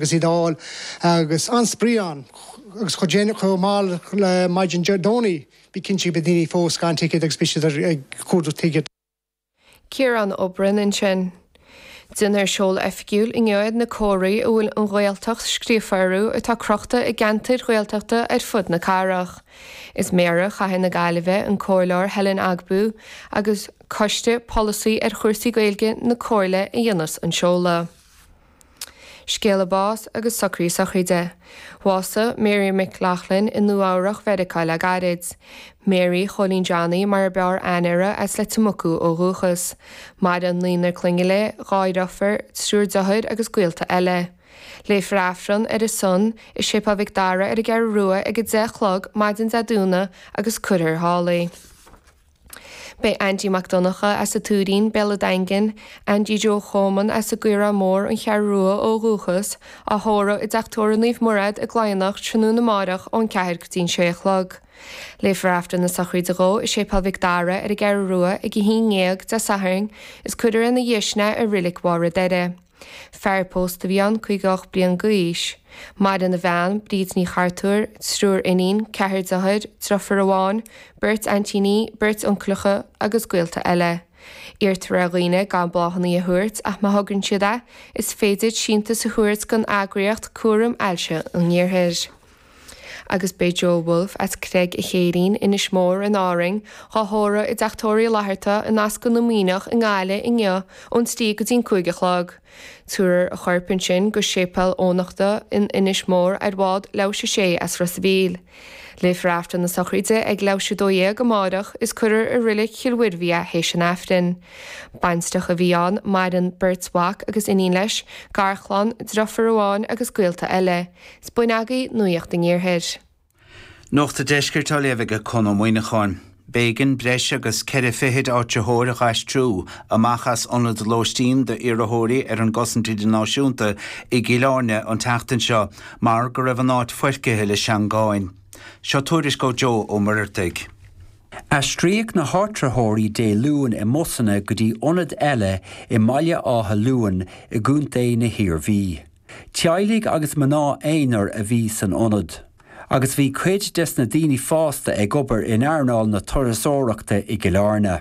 Agus iad a fháil agus an-spraoi ann agus chomh déanach chomh mall le maidin Dé Domhnaigh bí cinnte go mbeidh daoine fós gan ticéad agus beidh siad ag cuardach ticéad. Ciarán Ó Broin ansin. Déanfar seoladh oifigiúil inniu ar na comharthaí a bhfuil 'An Ghaeltacht' scríofa orthu atá crochta i gceantair Ghaeltachta ar fud na cathrach. Is Méara Chathair na Gaillimhe, an Comhairleoir Helen Ogbu, agus Coiste Polasaí ar chúrsaí Gaeilge na Comhairle a dhéanfas an seoladh. Scéala báis agus socruithe sochraide. Bhásaigh Mary McLaughlin i Nua Eabhrach Mheiriceá le gairid. Mary Chóilín Johnny mar ab fhearr aithne uirthi as Leitir Mucú ó dhúchas. Maireann naonúr clainne léi, 2 dheirfiúr, triúr deartháir agus gaolta eile. Léifear Aifreann ar a son i Séipéal Mhic Dara ar an gCeathrú Rua ag 10 a chlog maidin Dé Domhnaigh agus cuirfear thall í. Beidh Aindí Mac Donncha as an Tuairín, Béal an Daingin, Aindí Joe Choman as an gCaorach Mór, An Cheathrú Rua ó dhúchas, á thórramh i dTeach Tórraimh Naomh Murad i gCladhnach tráthnóna amáireach ón 4 go dtí an 6 a chlog. Léifear Aifreann na sochraide dhó i Séipéal Mhic Dara ar an gCeathrú Rua ag 11 Dé Sathairn is cuirfear ina dhiaidh sin é i Reilig Mhaigh Doire. Fear pósta a bhí ann, 58 bliain d'aois. Maireann a bhean, Bríd Ní Chartúir, triúr iníon, ceathrar deartháir, deirfiúr amháin, beirt aintíní, beirt uncaileacha agus gaolta eile. Iarrtar ar dhaoine gan bláthanna a thabhairt ach má thograíonn siad é, is féidir síntiús a thabhairt don eagraíocht Cúram Ailse an Iarthair. Agus beidh Joe Woulfe as Creag a' Chéirín, Inis Mór in Árainn, dhá thórramh i dTeach Tórraimh Uí Fhlatharta in Ascaill na Muimhneach i nGaillimh inniu ón 3 go dtí'n 5 a chlog. Tabharfar a chorp ansin go Séipéal Eoghanachta in Inis Mór ar bhád leathuair tar éis a 6 as Ros a' Mhíl. Léifear Aifreann na sochraide ag leathuair tar éis a 12 amárach is cuirfear i Reilig Chill Mhuirbhigh é théis an Aifrinn. Baintreach a bhí ann, maireann beirt mhac agus iníon leis, garchlann, deirfiúr amháin agus gaolta eile. Is b'in agaibh Nuacht an Iarthair. Nuacht an Deiscirt á léamh ag Conn Ó Muíneacháin. B'éigean breis agus ceithre fichid áitritheoir a dh'aistriú amach as ionad lóistín d'iarrthóirí ar an gcosaint idirnáisiúnta i gCill Airne an tseachtain seo mar go raibh an áit foircithe le seangáin. Seo tuairisc ó Joe Ó Muircheartaigh. Aistríodh na háitritheoirí Dé Luain i mbusanna go dtí ionad eile i mBaile Átha Luain i gContae na hIarmhí. Teaghlaigh agus mná aonair a bhí san ionad, agus bhí cuid des na daoine fásta ag obair in earnáil na turasóireachta i gCill Airne.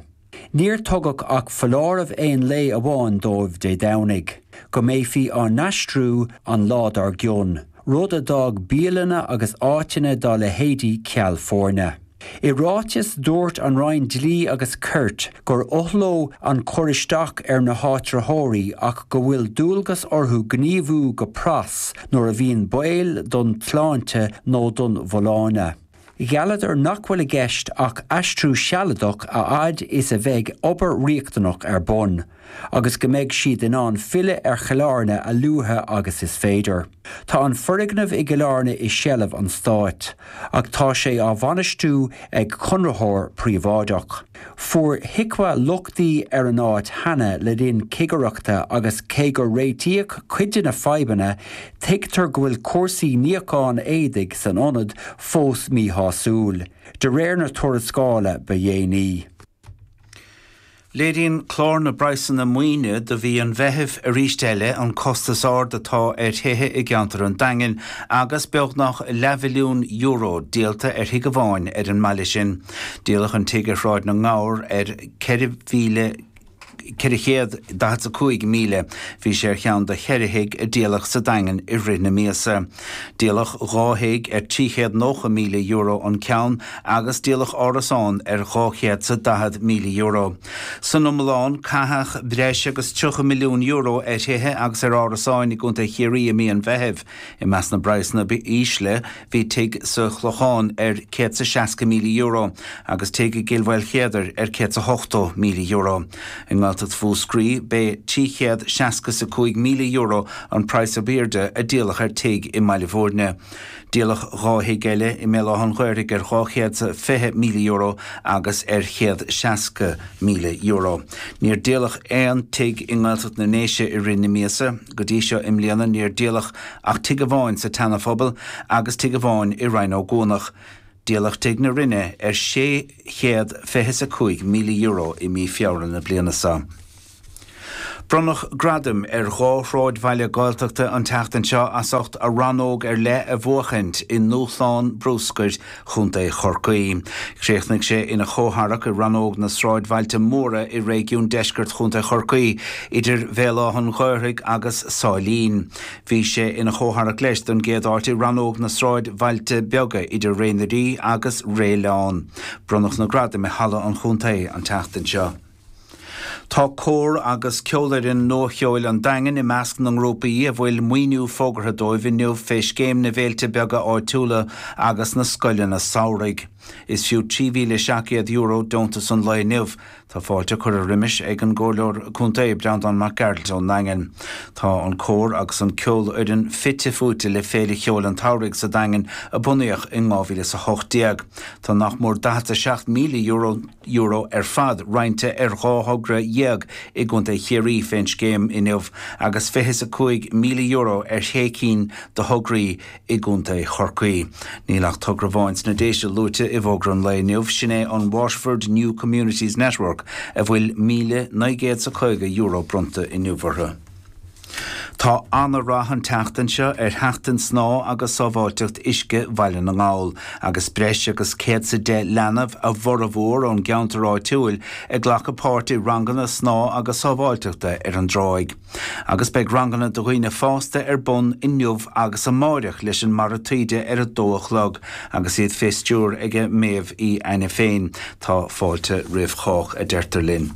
Níor tugadh ach foláireamh aon lae amháin dóibh Dé Domhnaigh, go mbeifí á n-aistriú an lá dár gcionn, rud a d'fhág bialanna agus áiteanna dá leithéidí ceal foirne. I ráiteas, dúirt an Roinn Dlí agus Cirt gur oth leo an cur isteach ar na háitritheoirí ach go bhfuil dualgas orthu gníomhú go pras nuair a bhíonn baol don tsláinte nó don bhfolláine. Ghealladar nach bhfuil i gceist ach aistriú sealadach a fhad is a bheidh obair riachtanach ar bun. agus go mbeidh siad in ann filleadh ar Chill Airne a luaithe agus is féidir. Tá an foirgneamh i gCill Airne i seilbh an stáit, ach tá sé á bhainistiú ag conraitheoir príobháideach. Fuair HIQA lochtaí ar an áit cheana le linn cigireachta agus cé gur réitíodh cuid de na fadhbanna, tuigtear go bhfuil cúrsaí níocháin éadaigh san ionad fós míshásúil, de réir na tuarascála ba dhéanaí. Léiríonn clár na bpraghsanna maoine do mhí an Mheithimh arís eile an costas ard atá ar thithe i gceantar an Daingin agus beagnach leathmhilliún euro díolta ar thigh amháin ar an mbaile sin. Díoladh an tigh ar Shráid na nGabhar ar 4,000 445,000. Bhí sé ar cheann de cheithre thigh a díoladh sa Daingean i rith na míosa. Díoladh 2 thigh ar €390,000 an ceann agus díoladh árasán ar €240,000. San iomlán, caitheadh breis agus €30 milliún ar thithe agus ar árasáin i gContae Chiarraí i mí an Mheithimh. I measc na bpraghsanna ba ísle bhí tigh sa Chlochán ar €160,000 agus tigh i gCill Mhaoilchéadair ar €180,000. I nGaeltacht Mhúscraí, b'é €365,000 an praghas ab airde a díoladh ar tigh i mBaile Bhúirne. Díoladh 2 thigh eile i mBéal Átha an Ghaorthaidh ar €220,000 agus ar €160,000. Níor díoladh aon tigh i nGaeltacht na nDéise i rith na míosa. Go dtí seo i mbliana níor díoladh ach tigh amháin sa tSeana-Phobal agus tigh amháin i Rinn Ó gCuanach. Díoladh Tigh na Rinne ar €625,000 i mí Feabhra na bliana seo. Bronnadh gradaim ar dhá shráidbhaile Gaeltachta an tseachtain seo as ucht a rannóg ar leith a bhuachaint i nDúshlán Bruscair Chontae Chorcaí. Chríochnaigh sé ina chomhtharrac i rannóg na sráidbhailte móra i réigiún deiscirt Chontae Chorcaí, idir Bhéal Átha an Ghaorthaidh agus Sáilín. Bhí sé ina chomhtharrac leis don gcéad áit i rannóg na sráidbhailte beaga idir Ré na Rí agus Ré Leán. Bronnadh na gradaim i Halla an Chontae an tseachtain seo. Tá Cór agus Ceolfhoireann Nua-Cheoil an Daingin i measc na ngrúpaí a bhfuil maoiniú fógartha dóibh inniu fé Scéim na bhFéilte Beaga Áitiúla agus na Scoileanna Samhraidh. Is fiú €3,700 deontas an lae inniu. Tá fáilte curtha roimis ag an gComhairleoir Contae, Breandán Mac Gearailt ón nDaingean. Tá an cór agus an ceolfhoireann fite fuaite le Féile Cheoil an tSamhraidh sa Daingean a bunaíodh in 2018. Tá nach mór €47,000 euro ar fad roinnte ar 12 thogra i gContae Chiarraí fén scéim inniu agus €25,000 ar shé cinn de thograí i gContae Chorcaí. Níl ach togra amháin sna Déise luaite i bhfógra an lae inniu, sin é an Waterford New Communities Network a bhfuil €1,950 bronnta inniu orthu. Tá ana-rath an tseachtain seo ar Sheachtain Snámha agus Sábháilteacht Uisce Bhaile na nGall, agus breis agus 110 leanbh, a bhformhór ón gceantar áitiúil, ag glacadh páirt i ranganna snámha agus sábháilteachta ar an dtráigh. Agus beidh ranganna do dhaoine fásta ar bun inniu agus amáireach leis an Mara Taoide ar a dó a chlog agus iad fé stiúir aige Méabh Uí Ainiféin. Tá fáilte roimh chách, a deirtear linn.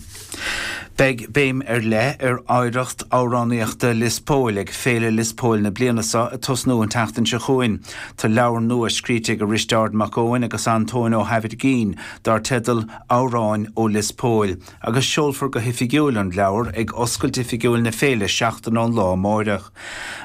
Beidh béim ar leith ar oidhreacht amhránaíochta Lios Póil ag Féile Lios Póil na bliana seo ag tosnú an tseachtain seo chugainn. Tá leabhar nua scríte ag Risteárd Mac Eoin agus Antóin Ó hAimhirgín dar teideal Amhráin ó Lios Póil agus seolfar go hoifigiúil an leabhar ag oscailt oifigiúil na féile seachtain ón lá amáireach.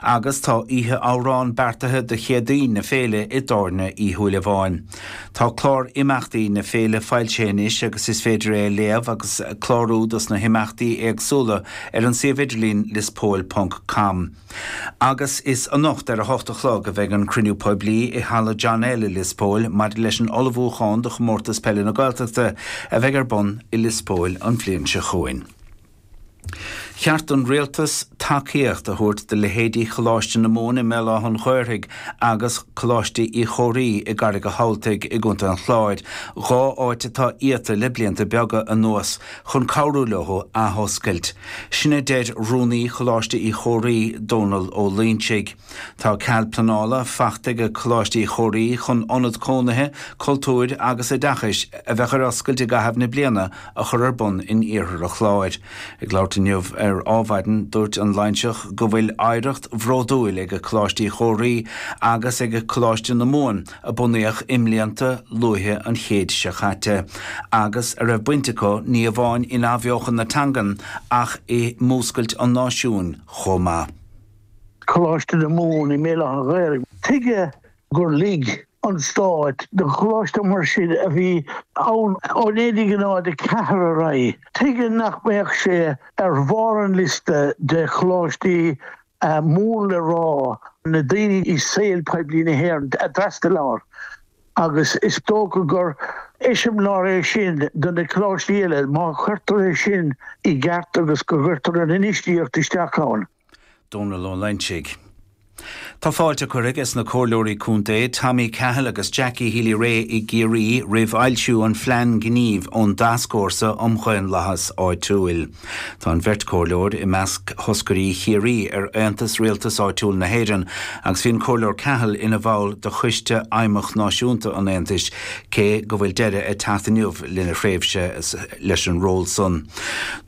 Agus tá oíche amhrán beartaithe do Chéadaoin na féile i dTábhairne Uí Shúilleabháin. Tá clár imeachtaí na féile foilsithe anois agus is féidir é a léamh agus clárú dos na himeachtaí éagsúla ar an suíomh idirlín liospóil ponc com. Agus is anocht ar a hocht a chlog a bheidh an cruinniú poiblí i Halla John L i Lios Póil maidir leis an ullmhúchán do Chomórtas Peile na Gaeltachta a bheidh ar bun i Lios Póil an bhliain seo chugainn. Cheart don Rialtas tacaíocht a thabhairt do leithéidí Choláiste na Mumhan i mBéal Átha an Ghaorthaidh agus Coláiste Uí Chomhraí i gCarraig a' Thabhaltaigh i gContae an Chláir, dhá áit atá iata le blianta beaga anuas, chun cabhrú leo athoscailt. Sin a deir Rúnaí Choláiste Uí Chomhraí, Dónal Ó Loingsigh. Tá cead pleanála faighte ag Coláiste Uí Chomhraí chun ionad cónaithe, cultúir agus oideachais a bheadh ar oscailt i gcaitheamh na bliana a chur ar bun in iarthar an Chláir. Ag labhairt inniu ar Ádhmhaidin, dúirt an Loingseach go bhfuil oidhreacht bhródúil ag Coláiste Uí Chomhraí agus ag Coláiste na Mumhan a bunaíodh i mblianta luaithe an chéid seo caite agus a raibh baint acu ní amháin in athbheochan na teangan ach i múscailt an náisiúin chomh maith. Coláiste na Mumhan i mBéal Átha an Ghaorthaidh. Tuige gur lig an Stát do choláiste mar sin a bhí ann ó 1904 ar aghaidh, tuige nach mbeadh sé ar bharr an liosta de choláistí mór le rá na daoine i saol poiblí na hÉireann a d'fhreastail air agus is dócha gur eiseamláir é sin do na coláistí eile má chuirtear é sin i gceart agus go gcuirtear an infheistíocht isteach ann. Dónal Ó Loingsigh. Tá fáilte curtha aige sna Comhairleoirí Contae Tommy Cahill agus Jackie Healy-Rae i gCiarraí roimh fhoilsiú an phlean gnímh ón dTascfhórsa um Dhaonlathas Áitiúil. Tá an bheirt Chomhairleoir i measc thoscairí Chiarraí ar Aontas Rialtas Áitiúil na hÉireann agus bhí an Comhairleoir Cahill ina bhall de Choiste Fheidhmeach Náisiúnta an Aontais cé go bhfuil deireadh ag teacht inniu lena thréimhse leis an ról san.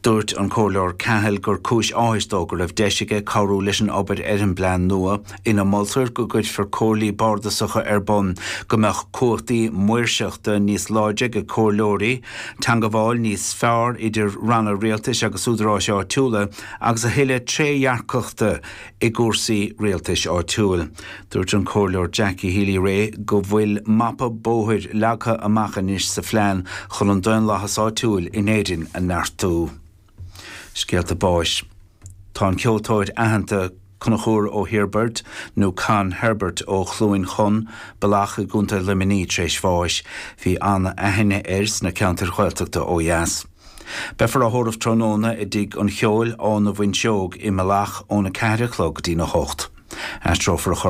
Dúirt an Comhairleoir Cahill gur cúis áthais dó go raibh deis aige cabhrú leis an obair ar an bplean nua, ina moltar go gcuirfear comhairlí bardasacha ar bun, go mbeadh cumhachtaí maoirseachta níos láidre ag comhairleoirí, teangabháil níos fearr idir ranna rialtais agus údaráis áitiúla agus a thuilleadh trédhearcachta i gcúrsaí rialtais áitiúil. Dúirt an Comhairleoir Jackie Healy-Rae go bhfuil mapa bóthair leagtha amach anois sa phlean chun an daonlathas áitiúil in Éirinn a neartú. Scéalta báis. Tá an ceoltóir aitheanta Conchúr Ó hIorbaird, nó Con Herbert ó Chluain Chon, Bealach i gContae Luimnigh tar éis bháis. Bhí an-aithne air sna ceantair Ghaeltachta ó dheas. Beifear á thórramh tráthnóna i dTigh an Cheoil, Áth na bhFuinseog i Mullach óna 4 a chlog go dtína 8. Aistreofar a chorp.